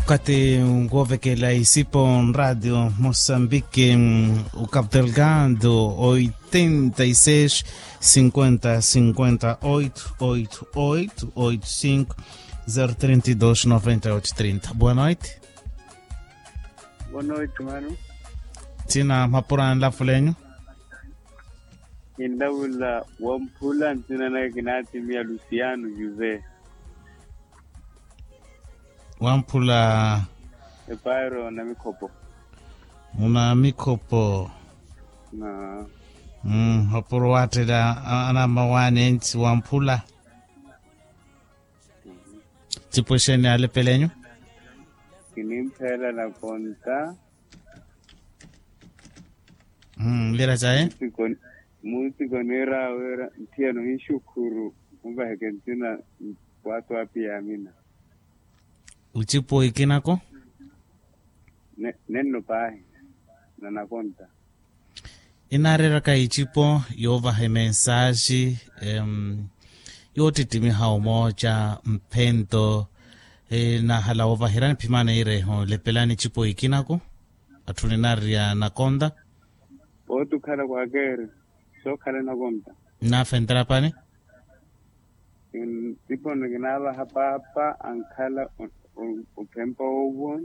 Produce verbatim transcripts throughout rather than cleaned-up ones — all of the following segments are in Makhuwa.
Okathi woovekela isipo nraatio mosambiki, okapu delgado oitenta y seis cinquenta cinquenta oito oito oito oito cinco zero trinta y dos noventa y oito trinta. Boa noite. Boa noite mano. Thina mapura nlafulenyu. Kinlavula wamphula nthina naka kinaatimiya luciano josé. Wamphula. Epairo na mikhopo. Muna mikhopo. Na. Mapuro watthela anamawaani entsi wamphula. Tipwexeni alepelenyu. Kinimphela na konta. Lira caye. Munsiko niira wira nthiyano hinxukhuru. Muvaheke nthina. Waatwapi yaamina. Ocipo ikinako. Nenno paahi. Nanakonta. Inaareeraka icipo yoovaha emensaaxi yoottittimiha omooca mphento. Naahala woovaherya niphimana ireeho lepelani icipo ikinako. Atthu ninaariya nakonta. Oottukhala kwaakeeri sookhala nakonta. Nnaafentela pani. Ntipono kinaavaha paapa ankhala ophempa owo.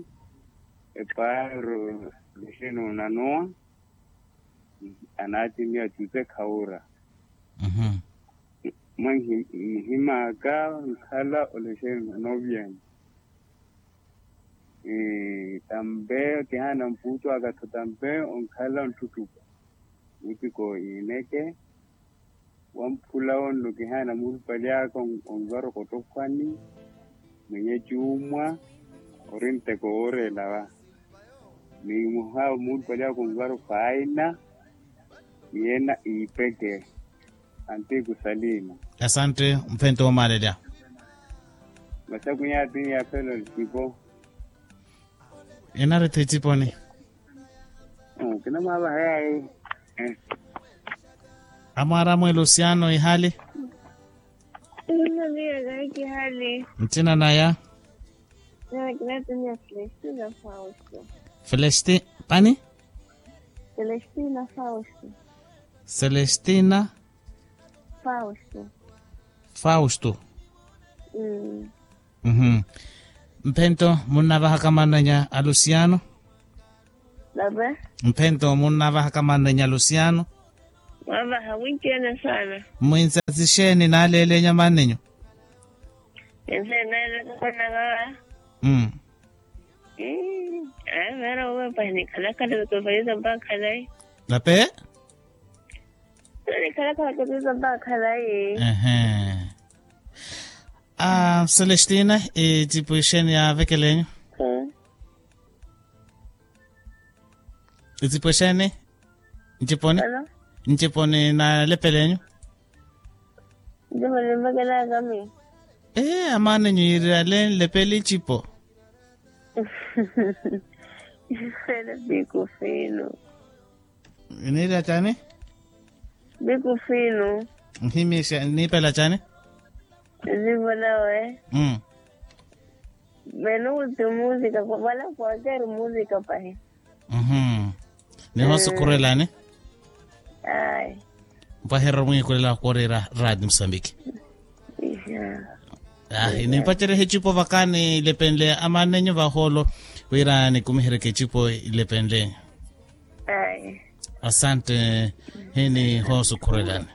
Epaaro lixino nanowa. Anaatimiya tute khawura. Mwa nhimaka nkhala olexeni novyeni. Tampe kihaana mpuutu aka tho tampe onkhala onttuttupa. Mutiko iineke. Wamphula onno kihaana muulupali aka onvara okotokhwani. Mwenye cuumwa ori nteko wooreela wa. Ni muhaawo muulupali aka onvara ofaaina. Ni ena iipeke. Antiku salina. Asante. Mphento woomaalelya. Masakunya ati yaafela ocipo. Enarithi eciponi. Kinamwaavaha yayi. Amwaara mwe luciano ihali. Ina miya kayi kihali. Nthina naya. Kinatimiya celestina fausto. Celesti pani. Celestina fausto. Celestina. Fausto. Fausto. Mphento munnavahaka mannenya a luciano. Mphento munnavahaka mannenya a luciano. Mwavaha mwinci ene saana. Mwinsa sixeeni naaleelenya mannenyu. Ense naaleelaka mannaka. Ayi meera uwe pahi nikhalakhala kutofaliza mpakha nayi. Nape. Nikhalakhala kutofaliza mpakha nayi. Celestina, ecipo exeeni yaavekelenyu? Ecipo exeeni? Nciponi? Nciponi naalepelenyu? Nciponi mvekelaka miyo. Ee amaanenyu yiirale nlepele icipo. Isele pikufino. Niira cani? Bikufino. Nhimixa niipela cani? Zivo nawe. Meno kuti musika wala kwakeri musika pahi. Niho sukhurelani? Ai. Mpaherero mwiikulela wakoorera radi musambiki. Ahi nimpacerehe ecipo vaka nilepenle amaanenyu vahoolo wira nikumiheryeke ecipo ilepenle. Asante. Hini hoosukhurelani.